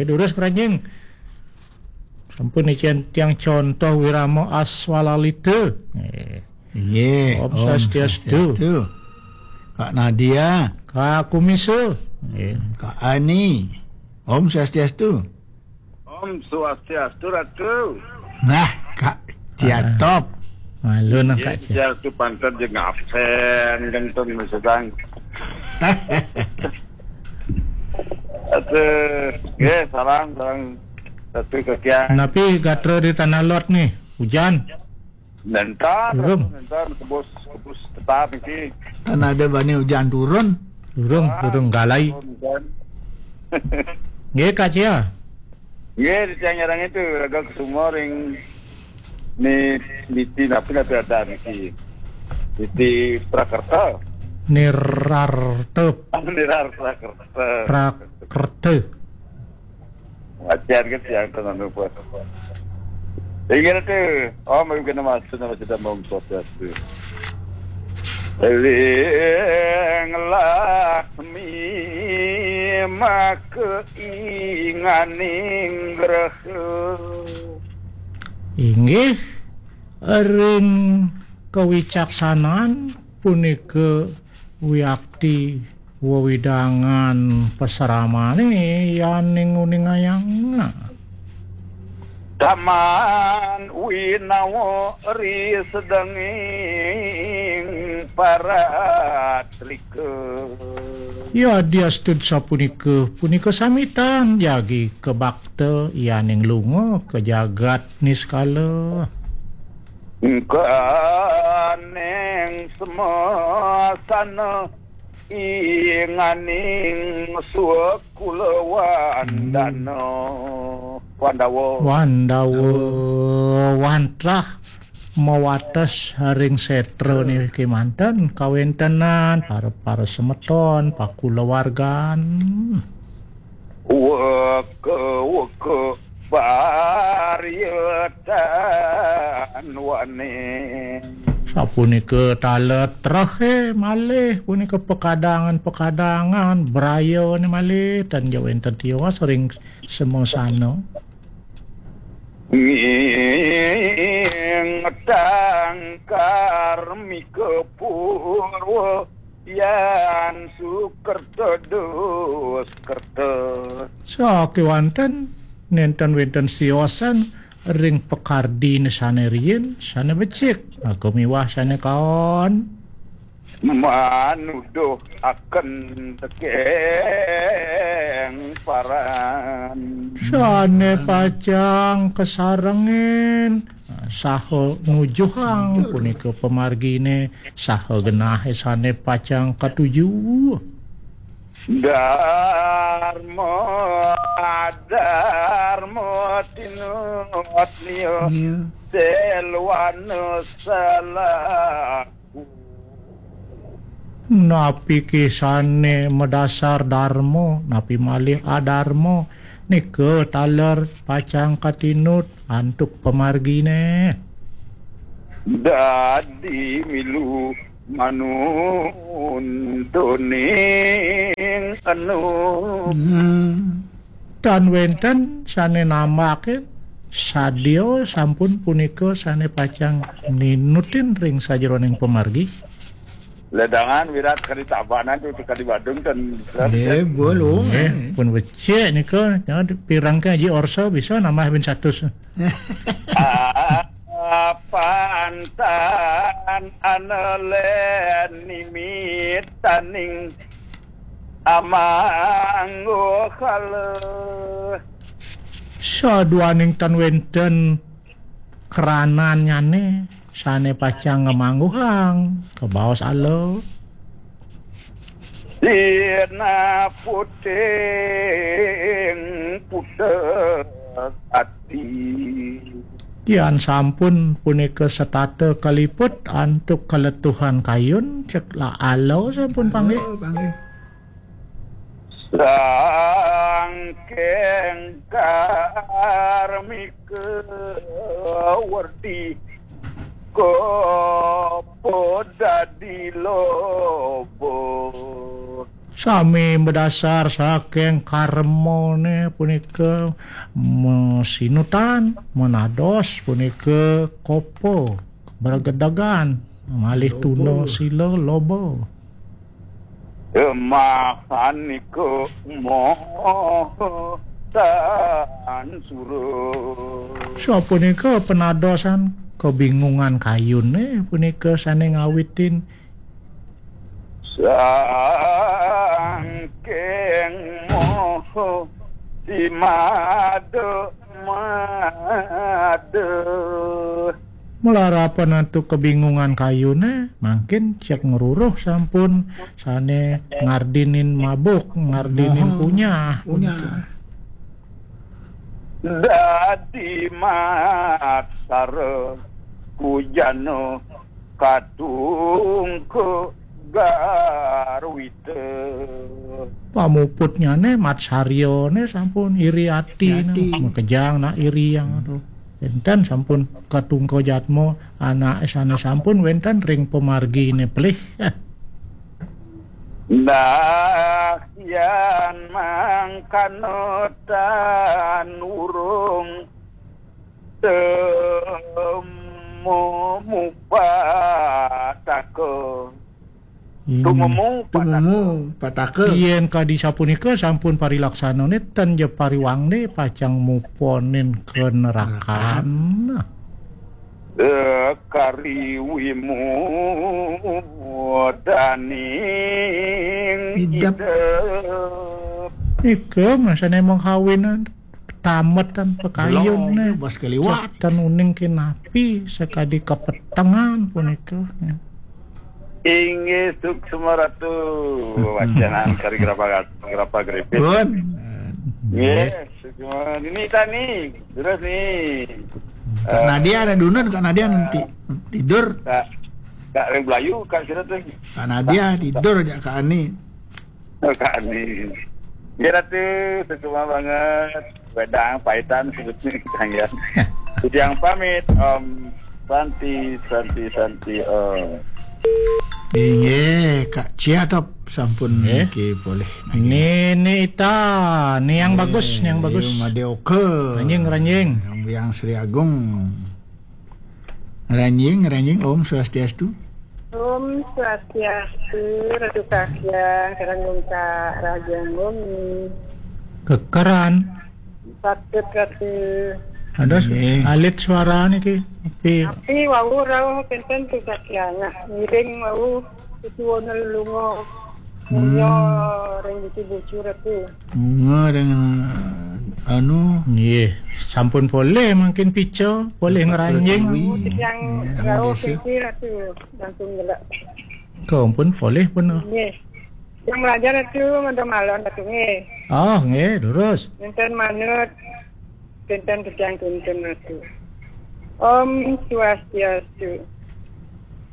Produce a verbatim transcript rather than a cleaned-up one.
Durus, Kranjing. Sampun icén tiang contoh wirama aswalalita. Eh. Nggih, Om Om Swastiastu. Swastiastu. Kak Nadia. Kak Kumisa. Nggih. Kak Ani. Om Swastiastu. Om Swastiastu, Ratu. Nah, Kak Ciatop. Malu nah, Kak Cia. Swastiastu panten jeung absen, genteng sedang. Aduh, nggih, salam, salam. Satu ke Kiang. Napi gatra di Tanah Lot nih, hujan? Nentar, Durung. Nentar, kebus, kebus tetap iki. Kan ada bani hujan turun. Durung, Ah, durung galai. Turun, kan. Nggih, Kak Cia. Nggih, di tiang nyarang itu, raga kesungor yang ni, niti napi napi ada niki. Niti Prakerta. Nirartep. Nirar Prakerta. Prakerta. Wajar kan tiang tenan lupa. Ingat tu, oh, mau kena masuk nama sudah mau sosial tu. Ring lakmi maka inganing graha. Inggih, ring kawicaksanan punika wiakti wewidangan pasramane yaning uningayang. Taman winawa ri sedenging paratrika. Ya, diastud sapunika, punika samitan jagi kabakta yaning lunga ka jagat niskala. Engkaning semasana inganing swakulawan dana. Wandawa. Wandawa, wantah mawates ring setra niki manten kawentenan para, para semeton, pakulawargan. Weka, weka, barietan wane. Sapunika taler trehe malih, punika pekadangan-pekadangan, brayane malih, tan ja wenten tiwas ring semasana. Nging tangkar mika purwa yan sukerta duskerta. Sakewanten nenten wenten siosan ring pakardine sane riin, sane becik, aku miwah sane kaon. Manuduh akan tekeng paran. Sane pacang kasarengin, saha nujuhang punika pamargine, saha genahe sane pacang katuju. Dharma, dharma tinut liya. Iya. Selwana salah. Napi kisane madasar dharma, napi malih adharma, nika taler pacang katinut antuk pamargine. Dadi milu manuntuning anu. Hmm. Tan wenten sane nambakin, sadia sampun punika sane pacang ninutin ring sajeroning pamargi. Ledangan wirat kadi Tabanan tu kadi Badung tan. Eh, bolong. Eh, pun becik nika, ya, pirang ke aji orsa bisa nambah bin satus. Apantan anelen nimitaning amangguhala. Saduaning tan wenten kranannyane sane pacang ngamangguhang kabaos ala. Dina puting putek ati. Yan sampun punika setata kaliput antuk kaletuhan kayun, cek la ala sampun panggih. Ala panggih. Sangking karmika werdi kopo dadi lobo. Sami madasar saking karmane punika masinutan, manados punika kopa, bergedegan, malih tuna sila loba. Mahanika moho tan sura. Sapunika penadosan kebingungan kayune punika sane ngawitin sangking moho si madu madu. Malarapan antuk kebingungan kayune, mangkin cek ngruruh sampun sane ngardinin mabuk, ngardinin punyah. Punyah. Dadi maksara kujana katungka garwita. Pamuputnyane matsaryane sampun iri ati. Iri ati. Makejang nak iri yang aduh. Enten sampun katungka jatma anake sane sampun wenten ring pamargine pelih. Nah, yan mangkana tan urung temu mupataka. Hmm. Tumemu pataka. Tumemu pataka. Yen kadi sapunika sampun parilaksanane tan ja pariwangne pacang muponin ka nerakan. Nerakan. Eh, kari wimudaning idep. Idep. Nika masane menghawinan tametan pakayun. Belum, ne. Bas keliwat. Catan uning kinapi sakadi kapetengan punika. Inggih, suksma Ratu. Wacanan kari grapa, grapa gripit. Pun. Nggih, suksma. Ini tani. Terus nih. Kak Nadia ada dunun, Kak Nadia nanti tidur. Kak, Kak Ring Belayu, Kak Sira tuh. Kak Nadia tidur aja, Kak Ani. Oh, Kak Ani. Ya, Ratu, suksma banget. Wedang paitan sebetulnya kita ya. Yang pamit, Om Santi, Santi, Santi, Om. Inggih, Kak Ciatop sampun nggih. Niki boleh. Ni, ni ita, ni yang bagus, ni yang bagus. Made oke. Ranjing, ranjing. Yang, yang Sri Agung. Ranjing, ranjing, Om Swastiastu. Om Swastiastu, Ratu Kahyang, Karang Gungka, Raja Nggomi. Kekeran. Patut, Ratu. Ada su-, nggih. Alit suara niki. Tapi tapi wau rauh kenten tu Kahyang. Nah, ngiring wau susuwun lunga. Hmm. Mulia ring bucu-bucu Ratu. Bunga dengan, anu. Nggih, sampun polih mangkin pica, polih ngranjing. Pertiwi. Yang hmm, rauh desa. Sisi Ratu, langsung gelak. Kau pun polih pun. Nggih. Yang belajar Ratu, mantap malon Ratu, nggih. Oh, nggih, terus. Nenten manut, nenten pejang, nenten Ratu. Om Swastiastu.